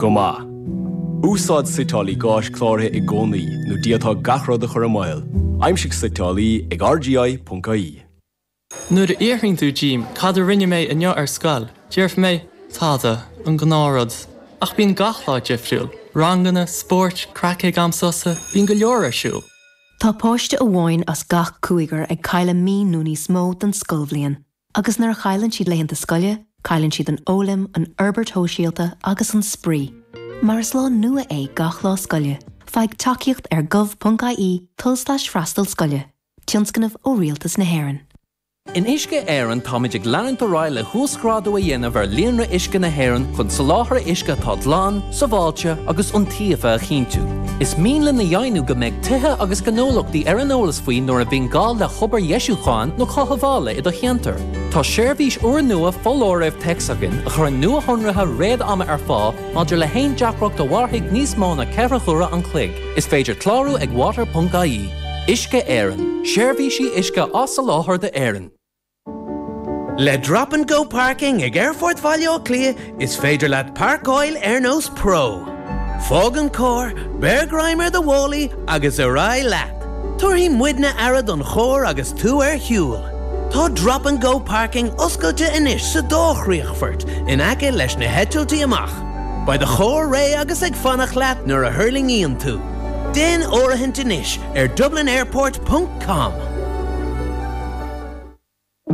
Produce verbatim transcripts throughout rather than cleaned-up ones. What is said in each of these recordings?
Go maith. Úsáid suiteálaí gáis cláraithe i gcónaí nó d'fhéadfá gach rud a chur i mbaol. Aimsigh suiteálaí ag R G I ponc I E. Nuair a fhiafraíonn tú díom cad a rinne mé inniu ar scoil, déarfaidh mé tada an gnáthrud. Ach bíonn gach lá difriúil, ranganna, spóirt, craic ag am sosa, bíonn go leor ar siúl. Tá páiste amháin as gach cúigear ag cailleadh mí nó níos mó den scoilbhliain, agus nuair a chailleann siad laethanta scoile, cailleann siad an fhoghlaim, an fhorbairt shóisialta agus an spraoi. Mar is lá nua é gach lá scoile, faigh tacaíocht ar gov ponc I E tulslais freastal scoile, tionscnamh ó Rialtas na hÉireann. In Uisce Éireann táimid ag leanúint ar aghaidh le huasghrádú a dhéanamh ar líonra uisce na hÉireann chun soláthar uisce atá glan, sábháilte agus iontaofa a chinntiú. Is mian linn a dheimhniú go mbeidh tithe agus gnólachtaí ar an eolas faoi nuair a bhíonn gá le hobair dheisiúcháin nó cothabhála i do cheantar. Tá seirbhís úrnua foláirimh téacs againn a chuireann nuashonruithe réad-ama ar fáil maidir le haon deacracht a mhairfidh níos mó ná ceithre huaire an chloig. Is féidir clárú ag water ponc I E. Uisce Éireann, seirbhísí uisce á soláthar d'Éirinn. Le Drop and Go Parking ag Aerfort Bhaile Átha Cliath is féidir leat páirceáil ar nós pro. Fág an carr, beir greim ar do mhálaí agus ar aghaidh leat. Tabharfaidh muidne aire don charr agus tú ar shiúl. Tá Drop and Go Parking oscailte anois sa dá chríochfort in aice leis na heitiltí amach. Beidh do charr réidh agus ag fanacht leat nuair a thuirlingíonn tú. Déan áirithint anois ar Dublin Airport ponc com.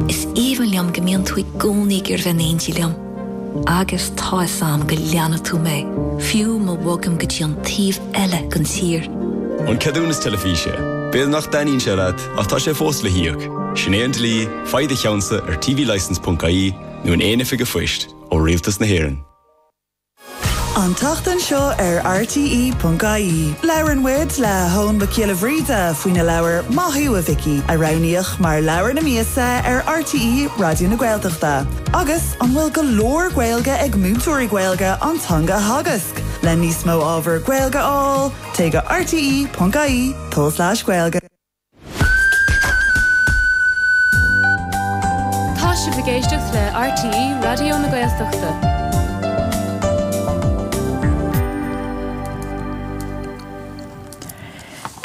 Is aoibhinn liom go mbíonn tú i gcónaí ag iarraidh bheith in éindí liom. Agus tá a fhios agam go leanfaidh tú mé, fiú má bhogaim go dtí an taobh eile den tír. An ceadúnas teilifíse, B'fhéidir nach dtaitníonn sé leat ach tá sé fós le híoc. Sin é an dlí, faigh do cheannsa ar T V licence ponc I E nó in aon oifig phoist ó Rialtas na hÉireann. An tseachtain seo ar R T E ponc I E. Labhrann muid le hEoin Mac Giolla Bhríde faoina leabhar Maith Thú a Mhicí a roghnaíodh mar leabhar na míosa ar R T E Raidió na Gaeltachta. Agus an bhfuil go leor Gaeilge ag múinteoirí Gaeilge an teanga a theagasc, le níos mó ábhar Gaeilge a fháil, téigh go R T E ponc I E tulslais Gaeilge. Tá sibh ag éisteacht le R T E Raidió na Gaeltachta.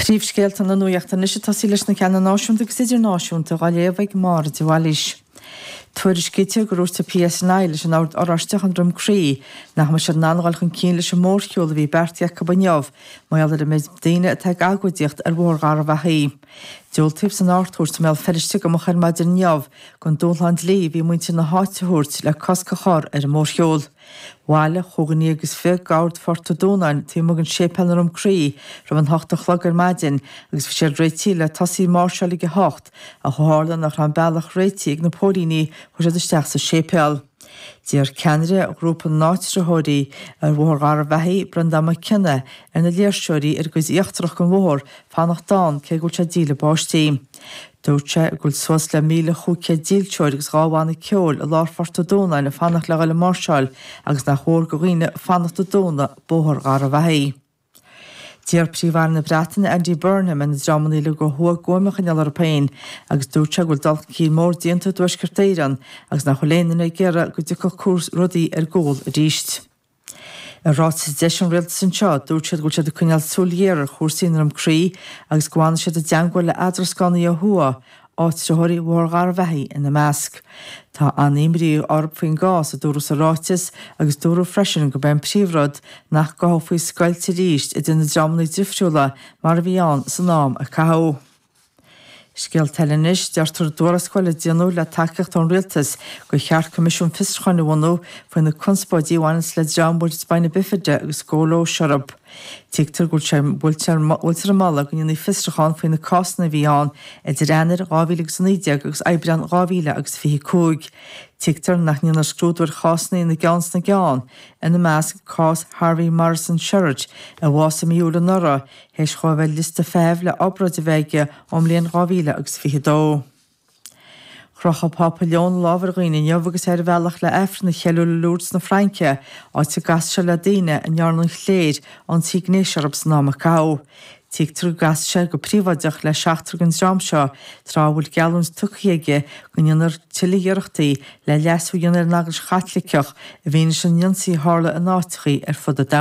Príomhscéalta na nuachta anois ag tosaí leis na ceanna náisiúnta agus idirnáisiúnta á léamh ag Máire de Bhailís. Tuairiscítear gur dhúirt P S N I leis an Ord Oráisteach i nDroim Crí nach mbeidh siad in ann dul chun cinn leis an mórshiúl a bhí beartaithe acu inniu, mar gheall ar an méid daoine atá ag agóidíocht ar Bhóthar Gharbhachaidh. Diúltaíodh san Ard-Chúirt i mBéal Feirste go moch ar maidin inniu don dúshlán dlí a bhí muintir na háite a thabhairt le cosc a chur ar an mórshiúl. Bhailigh chúig déag agus fiche garda Phort an Dúnáin taobh amuigh den séipéal i nDroim Crí roimh an hocht a chlog ar maidin agus bhí siad réitithe le tosaí máirseáil ag a hocht ach ó tharla nach raibh an bealach réitithe ag na póilíní chuaigh siad isteach sa séipéal. D'iarr ceannaire ghrúpa na n-áitritheoirí ar Bhóthar Gharbhachaidh Breandán Mac Cionnaith ar na léirseoirí ar an gcuid íochtarach den bhóthar fanacht ann cé go bhfuil sé ag díle báistí. Dúirt sé go bhfuil suas le míle chúig chéad dílseoir agus dhá bhanna ceoil i lár Phort an Dúnáin ag fanacht le dhul ag máirseáil agus nach mhór do dhaoine fanacht ag dúnadh Bóthar Gharbhachaidh. D'iarr Príomh-Aire na Breataine Andy Burnham ar na dreamanna uilig ó thuaidh guaim a choinneáil orthu féin agus dúirt sé go bhfuil dul chun cinn mór déanta i dTuaisceart Éireann agus nach bhfuil aon duine ag iarraidh go dtiocfadh cúrs rudaí ar gcúl arís. I ráiteas a d'eisigh an rialtas anseo, dúirt siad go bhfuil siad ag coinneáil súil ghéar ar chúrsaí i nDroim Crí agus go bhfanfaidh siad i dteagmháil le eadrascánaí ó thuaidh, áitritheoirí Bhóthar Gharbhachaidh ina measc. Tá an-imní orthu faoin gcás a dúradh sa ráiteas agus dúradh freisin gurb é an príomhrud nach gcothófaí scoilt arís idir na dreamanna difriúla mar a bhí ann san am a caitheadh. Scéalta eile anois deirtear i dtuarascáil a déanadh le tacaíocht ón rialtas gur cheart Coimisiún Fiosrúcháin a bhunú faoi na conspóidí a bhaineann le dream a bhfuil Spina Bifida agus scóilióis orthu. Tuigtear go bhfuil ag moladh go ndéanfaí fiosrúchán faoi na cásanna a bhí ann idir Eanáir dhá mhíle agus a naoi déag agus Aibreán dhá mhíle agus fiche cúig. Tuigtear nach ndéanfar scrúdú ar chásanna ina gceann sna gceann, ina measc cás Harvey Morrison Sherritt a bhásaigh i mí Iúil anuraidh, théis dó a bheith ar liosta feithimh le obráid a bheith aige ón mbliain dhá mhíle agus fiche dó. Chroch an Pápa Leon a lámh ar dhaoine inniu agus é ar a bhealach le Aifreann a cheiliúradh i Lourdes na Fraince, áit a gcas sé le daoine a ndearna an chléir ionsaí gnéis orthu san am a caitheadh. Tuigtear go gcas sé go príobháideach le seachtar den dream seo tráth a bhfuil geallúint tugtha aige go ndéanfar tuilleadh iarrachtaí le leasú a dhéanamh ar an Eaglais Chaitliceach i bhfianaise an ionsaí a tharla in áiteachaí ar fud an domhain.